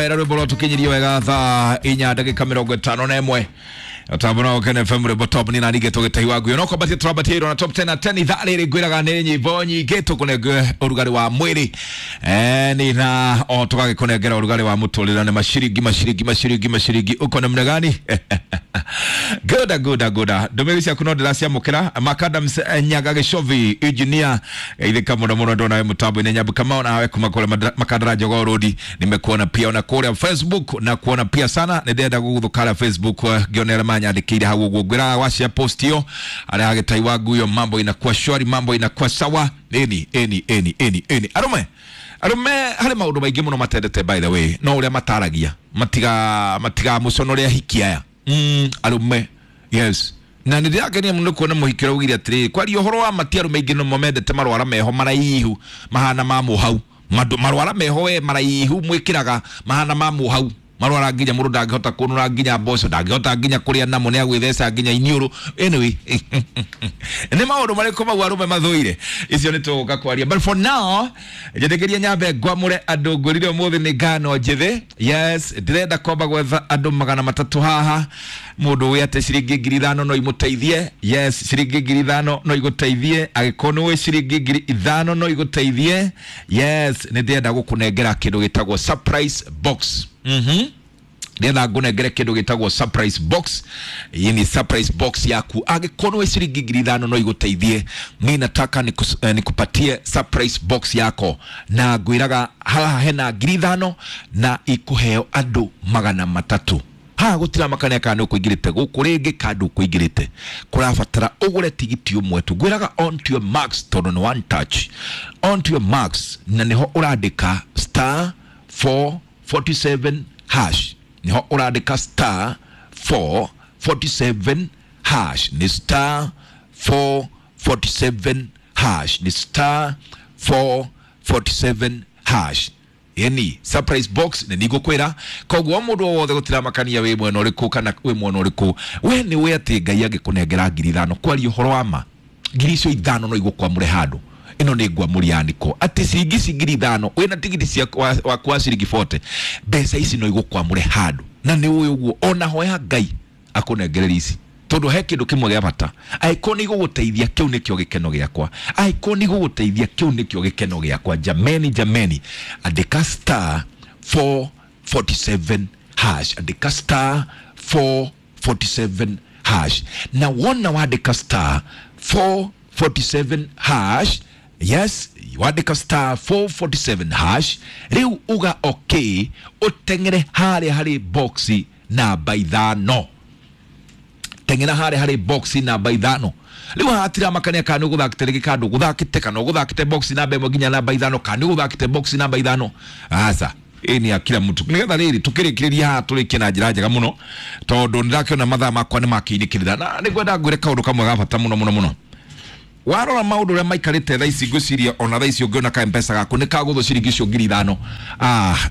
Wera rwimbo rwatukinyirie wega thaa inya ndagika mĩrongo ĩtano na ĩmwe tambo no Ken FM rwimbo top ni nani gĩtũ gĩtahi wa nguyo no kwambatia tũrambatia na top 10 na 10 ithaa rĩrĩ ngwĩraga nĩ nyĩmbo nyingĩ tũkũnengere ũrugarĩ wa mwĩrĩ ni na o tũgagĩkũnengera ũrugarĩ wa mũtũrĩre nĩ maciringi maciringi maciringi maciringi uko namna gani? Goda goda goda ndũmĩrĩri ciaku no ndĩraciamũkĩra. Macadams Nyaga Gĩcovi engineer geithĩka mũno mũno ndona we mũtambo-inĩ. Nyambu Kamau nawe kuma kũrĩa Makandara Jogoo Road nimekuona pia ona kũrĩa Facebook na kuona pia sana nĩ ndĩrenda gũgũthũkara Facebook, ngĩona arĩa manyandĩkĩire hau ũguo ngwĩraga wacia post ĩyo arĩa agĩtai wa nguyo mambo inakuwa shwari, mambo inakuwa sawa. Eni eni eni eni eni arume arume harĩ maũndũ maingĩ mũno matendete, by the way, no ũrĩa mataragia matiga matiga mũconore ahiki aya arume, yes, na nä ndärakenia må no kuona må hiki å raugire atä kwaria å horo wa mati arå maingä no mendete marwara meho maraihu mahana ma må marwara meho we maraihu mwä mahana ma må hau marwara nginya må ndå ndangähota kå nå nginya mboco ndangähota nginya kå rä a namo nä agwä theca nginya iniå. Anyway, nä maå ndå marä kå mau arå me mathå ire icio nä tå gå ka kwaria, but for now njä nyambe ngwamå re andå ngå rire å må thä nä ngano njä thä. Yes, ndärenda kwamba gwetha andå 300 haha må ndå wä atä ciringi 5,000 no imå teithie. Yes, ciringi 5,000 no igå teithie agä korwo nä wä ciringi 5,000 no igå teithie. Yes, nä ndärenda gå kå nengera kä ndå gä tagwo surprise box. Ndĩrenda ngũnengere kĩndũ gĩtagwo surprise box. Hii ni surprise box yaku angĩkorwo wĩ ciringi 5,000 no igũteithie. Mi nataka nikupatie surprise box yako na ngwĩraga haha hena 5,000 na ikũheo andũ 300. Haha gũtiramakania kana nĩ ũkũingĩrĩte gũkũ rĩngĩ kana ndũkũingĩrĩte, kũrabatara ũgũre tigiti ũmwe tu. Ngwĩraga on to your marks tondũ nĩ one touch, on to your marks, na nĩho ũrandĩka star 447 hash, niho ũrandĩka star 447 hash, ni star 447 hash, ni star 447 hash. Yani surprise box nĩ nigũkwĩra koguo mũndũ o wothe gũtiramakania wĩ mwena ũrĩkũ kana wĩ mwena ũrĩkũ we nĩ wĩ atĩ Ngai angĩkũnengera 5,000 kwaria ũhoro wa ma 5,000 no igũkwamũre handũ ĩno nĩ ngwamũria andĩko atĩ ciringi ici 5,000 wĩna tigiti waku wa ciringi 40 mbeca ici no igũkwamũre handũ na nĩ ũĩ ũguo ona hoya Ngai akũnengereria ici tondũ he kĩndũ kĩmwe gĩa bata angĩkorwo nĩ igũgũteithia kĩu nĩkĩo gĩkeno gĩakwa, angĩkorwo nĩ igũgũteithia kĩu nĩkĩo gĩkeno gĩakwa. Jameni jameni, andĩka star 447 hash, andĩka star 447 hash, na wona wandĩka star 447 hash, yes, wandĩka star 447 hash rĩu uga okay ũteng'ere harĩa harĩ boxi namba 5, teng'era harĩa harĩ boxi namba 5. Rĩu haha hatiramakania kana nĩ ũgũthakĩte rĩngĩ kana ndũgũthakĩte kana ũgũthakĩte boxi namba 1 nginya namba 5 kana nĩ ũgũthakĩte boxi namba 5. Aca ĩ nĩ ya kila mtu nĩgetha rĩrĩ tũkĩrĩkĩrĩria haha tũrĩkie na njĩra njega mũno tondũ nĩndakĩona mathaa makwa nĩ makĩinĩkĩrĩra na nĩngwenda ngwĩre kaũndũ kamwe ga bata mũno mũno mũno. Warora maũndũ ũrĩa maikarĩte thaa ici ngwĩciria ona thaa ici ũngĩona ka M-Pesa gaku nĩ kagũthwo ciringi icio 5,000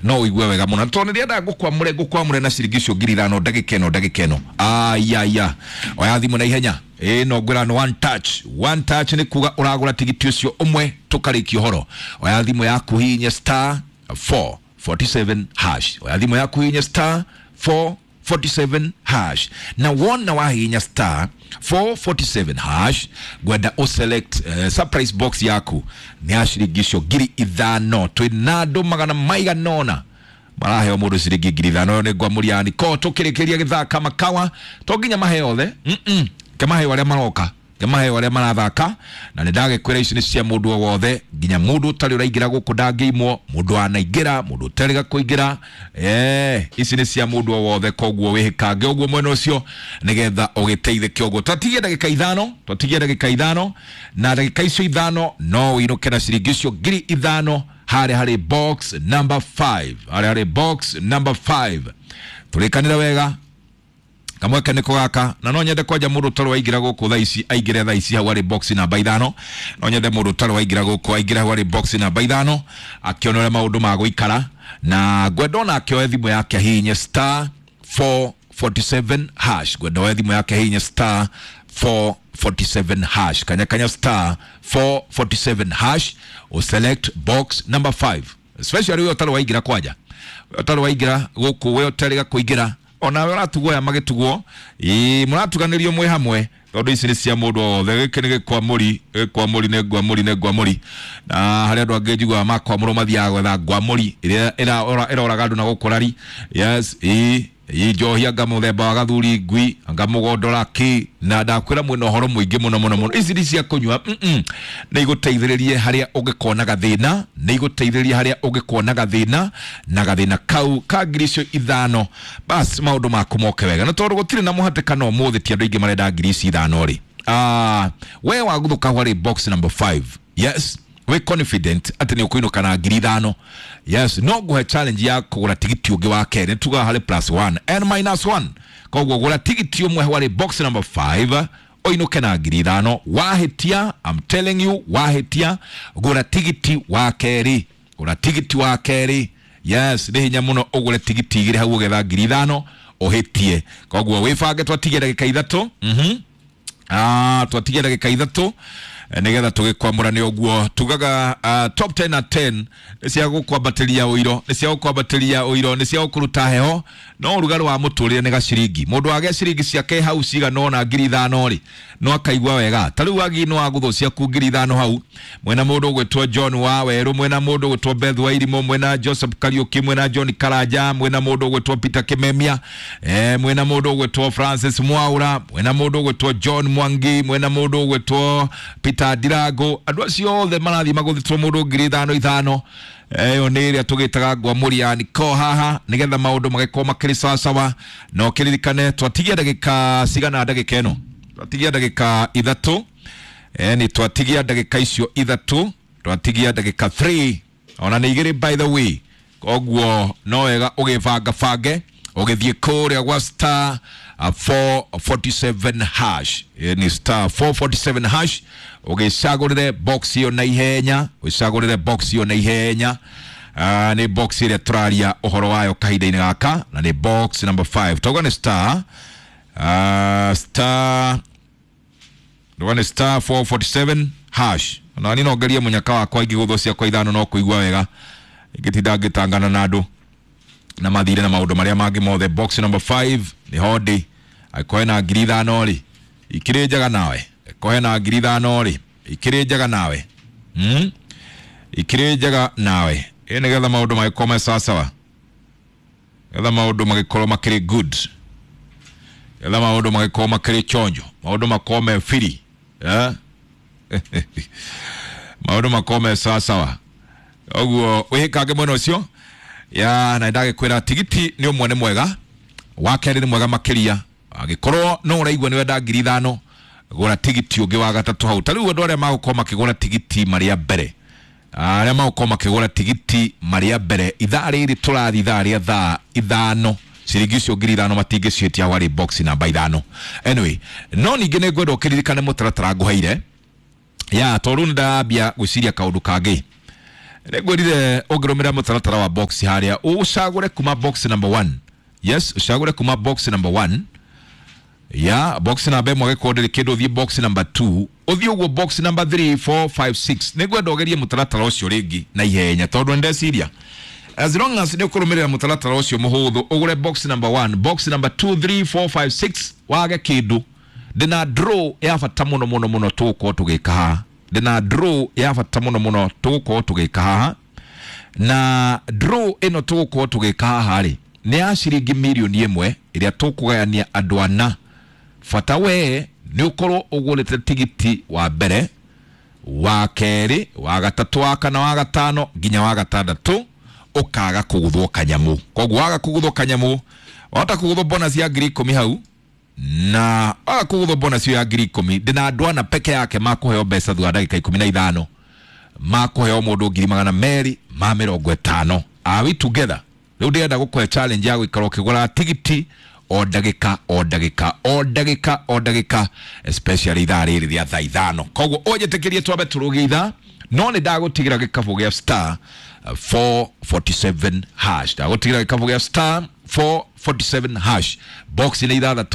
no ũigue wega mũno tondũ nĩndĩrenda ngũkwamũre ngũkwamũre na ciringi icio 5,000 ndagĩka ĩno ndagĩka ĩno. Aya oya thimũ na ihenya ĩ no ngwĩra nĩ one touch, one touch nĩ kuga ũragũra tigiti ũcio ũmwe tũkarĩkia ũhoro. Oya thimũ yaku hihinye star 447 hash, oya thimũ yaku hihinye star 447 hash, na wona wahihinya star 447 hash ngwenda ũselect surprise box yaku nĩ ya ciringi icio 5,000. Twĩna andũ 900 maraheo mũndũ ciringi 5,000 ĩyo nĩ ngwamũria niko tũkĩrĩkĩria gĩthaka makawa to nginya maheo othe kemaheo arĩa maroka kemaheo arĩa marathaka na nĩ ndagĩkwĩra ici nĩ cia mũndũ o wothe nginya mũndũ ũtarĩ ũraingĩra gũkũ ndangĩimwo mũndũ wanaingĩra mũndũ ũtarĩga kũingĩra ici nĩ cia mũndũ o wothe koguo wĩhĩkange ũguo mwena ũcio nĩgetha ũgĩteithĩke ũguo. Twatigie ndagĩka 5, twatigie ndagĩka 5 na ndagĩka icio 5 no ũinũke na ciringi icio 5,000 harĩa harĩ box number 5, harĩa harĩ box number 5. Tũrĩkanĩre wega kamweke nĩko gaka na no nyende kwanja mũndũ ũtarĩ waingĩra gũkũ thaa ici aingĩre thaa ici hau harĩ box namba 5, no nyende mũndũ ũtarĩ waingĩra gũkũ aingĩre hau harĩ box namba 5 akĩona ũrĩa maũndũ magũikara na ngwenda ona akĩoe thimũ yake ahihinye star 447 hash, ngwenda oe thimũ yake ahihinye star 447 hash, kanya kanya star 447 hash uselect box number 5 especially ũyũ ũtarĩ waingĩra kwanja. Ũtarĩ waingĩra gũkũ, we ũtarĩ kũingĩra onawe ũratugwo aya magĩtugwo, ĩĩ mũratuganĩrio mwĩ hamwe tondũ ici nĩ cia mũndũ o wothe. Gĩkĩ nĩ gĩkwamũri, gĩkwamũri nĩ ngwamũri, nĩ ngwamũri. Na harĩ andũ angĩ njiguaga makwamũrwo mathiaga gwetha ngwamũri ĩrĩa ĩroraga andũ na gũkũ rari. Yes, ĩĩ ĩĩ njohi anga mũthemba wa gathuri ngui anga mũgondora kĩ, na ndakwĩra mwĩna ũhoro mũingĩ mũno mũno mũno. Ici nĩ cia kũnyua, nĩ igũteithĩrĩrie harĩa ũngĩkona gathĩna, nĩ igũteithĩrĩrie harĩa ũngĩkona gathĩna, na gathĩna kau ka ngiri icio ithano, bas maũndũ maku moke wega. Na tondũ gũtirĩ na mũhatĩkano ũmũthĩ, ti andũ aingĩ marenda ngiri ici ithano rĩ, we waguthũka harĩ box number 5, yes, wĩ confident atĩ nĩ ũkũinũka na ngiri ithano. Yes, no ngũhe challenge ya kũgũra tigiti ũngĩ wa kerĩ. Nĩ tugaga harĩ plus 1 and minus 1, koguo gũra tigiti ũmwe harĩ box number 5 ũinũke na ngiri ithano. Wahĩtia, I'm telling you, wahĩtia gũra tigiti wa kerĩ, gũra tigiti wa kerĩ. Yes, nĩ hinya mũno ũgũre tigiti igĩrĩ hau ũgetha ngiri ithano ũhĩtie. Koguo wĩbange, twatigia ndagĩka ithatũ. Twatigia ndagĩka ithatũ nĩgetha tũgĩkwamũrane ũguo tugaga. Top 10 na 10 nĩ cia gũkwambatĩria ũiro, nĩ cia gũkwambatĩria ũiro, nĩ cia gũkũruta heho, no ũrugarĩ wa mũtũrĩre nĩ gaciringi. Mũndũ wagĩa ciringi ciake hau cigana ũna ngiri ithano rĩ, no akaigua wega. Ta rĩu wagi no wagũthwo ciaku ngiri ithano hau, mwena mũndũ ũgwĩtwo John wa Werũ, mwena mũndũ ũgwĩtwo Beth wa Irimũ, mwena Joseph Kariuki, mwena John Karanja, mwena mũndũ ũgwĩtwo Peter Kimemia, mwena mũndũ ũgwĩtwo Francis Mwaura, mwena mũndũ ũgwĩtwo John Mwangi, mwena mũndũ ũgwĩtwo Peter Ndirango. Andũ acio othe marathiĩ magũthĩtwo mũndũ ngiri ithano ithano. Ĩyo nĩ ĩrĩa tũgĩtaga ngwamũri ya niko haha nĩgetha maũndũ magĩkorwo makĩrĩ sawasawa. Na ũkĩririkane twatigia ndagĩka cigana? Ndagĩka ĩno twatigia ndagĩka ithatũ. Nĩ twatigia ndagĩka icio ithatũ, twatigia ndagĩka 3 ona nĩ igĩrĩ by the way. Koguo no wega ũgĩbanga bange ũgĩthiĩ kũrĩa gwa star 447 hash. Ni star 447 hash, ũgĩcagũrĩre box ĩyo na ihenya, ũcagũrĩre box ĩyo na ihenya. Nĩ box ĩrĩa tũraria ũhoro wayo kahinda-inĩ gaka, na nĩ box number 5. Tauga nĩ star star, nduga nĩ star 447 hash. Ona ni no ngerie mũnyaka wakwa ingĩgũthwo ciakwa ithano no kũigua wega ingĩtinda ngĩtangana na andũ na mathire na maũndũ marĩa mangĩ mothe. Box number 5 nĩ hondi. Angĩkorwo hena ngiri ithano rĩ, ikĩrĩ njega nawe. Angĩkorwo hena ngiri ithano rĩ, ikĩrĩ njega nawe. Ikĩrĩ njega nawe ĩ, nĩgetha maũndũ magĩkorwo me sawasawa, nĩgetha maũndũ magĩkorwo makĩrĩ good, nĩgetha maũndũ magĩkorwo makĩrĩ chonjo, maũndũ makorwo me free, eh? Maũndũ makorwo me sawasawa. Ũguo wĩhĩkange mwena ũcio ya na ndagĩkwĩra tigiti nĩ ũmwe nĩ mwega, wa kerĩ nĩ mwega makĩria. Angĩkorwo no ũraigua nĩ wenda ngiri ithano, gũra tigiti ũngĩ wa gatatũ hau. Ta rĩu andũ arĩa magũkorwo makĩgũra tigiti marĩa mbere, arĩa magũkorwo makĩgũra tigiti marĩa mbere ithaa rĩrĩ tũrathiĩ, ithaa rĩa thaa ithano, ciringi icio ngiri ithano matingĩciĩtia harĩ box namba ithano. Anyway, no ningĩ nĩ ngwenda ũkĩririkane mũtaratara ngũheire ya tondũ nĩ ndambia gwĩciria kaũndũ kangĩ. Nĩngwĩrire ũngĩrũmĩrĩra mũtaratara wa box harĩa ũcagũre kuma box number 1. Yes, ũcagũre kuma box number 1 ya box namba ĩmwe, agĩkorwo ndĩrĩ kĩndũ ũthiĩ box number 2, ũthiĩ ũguo box number 3, 4, 5, 6. Nĩngwenda ũgerie mũtaratara ũcio rĩngĩ na ihenya tondũ nĩndeciria as long as nĩ ũkũrũmĩrĩra mũtaratara ũcio mũhũthũ, ũgũre box number 1, box number 2, 3, 4, 5, 6, wage kĩndũ, ndĩna draw ya bata mũno mũno mũno tũgũkorwo tũgĩka haha. Ndĩna draw ya bata mũno mũno tũgũkorwo tũgĩka haha, na draw ĩno tũgũkorwo tũgĩka haha rĩ, nĩ ya ciringi mirioni ĩmwe ĩrĩa tũkũgayania andũ ana. Bata we nĩ ũkorwo ũgũrĩte tigiti wa mbere, wa kerĩ, wa gatatũ, wa kana, wa gatano nginya wa gatandatũ, ũkaga kũgũthwo kanyamũ. Koguo waga kũgũthwo kanyamũ, wahota kũgũthwo bonus ya ngiri ikũmi hau, na waga kũgũthwo bonus ya ngiri ikũmi, ndĩna andũ ana peke yake makũheo mbeca thutha wa ndagĩka ikũmi na ithano, makũheo mũndũ ngiri magana merĩ ma mĩrongo ĩtano. Are we together? Rĩu ndĩrenda gũkũhe challenge ya gũikara ũkĩgũra tigiti o ndagĩka o ndagĩka o ndagĩka o ndagĩka, especially ithaa rĩrĩ rĩa thaa ithano. Koguo ũnjĩtĩkĩrie twambe tũrũgie ithaa, no nĩ ndagũtigĩra gĩkabũ gĩa star 447 hash, ndagũtigĩra gĩkabũ gĩa star 447 hash, box nĩ ithathatũ.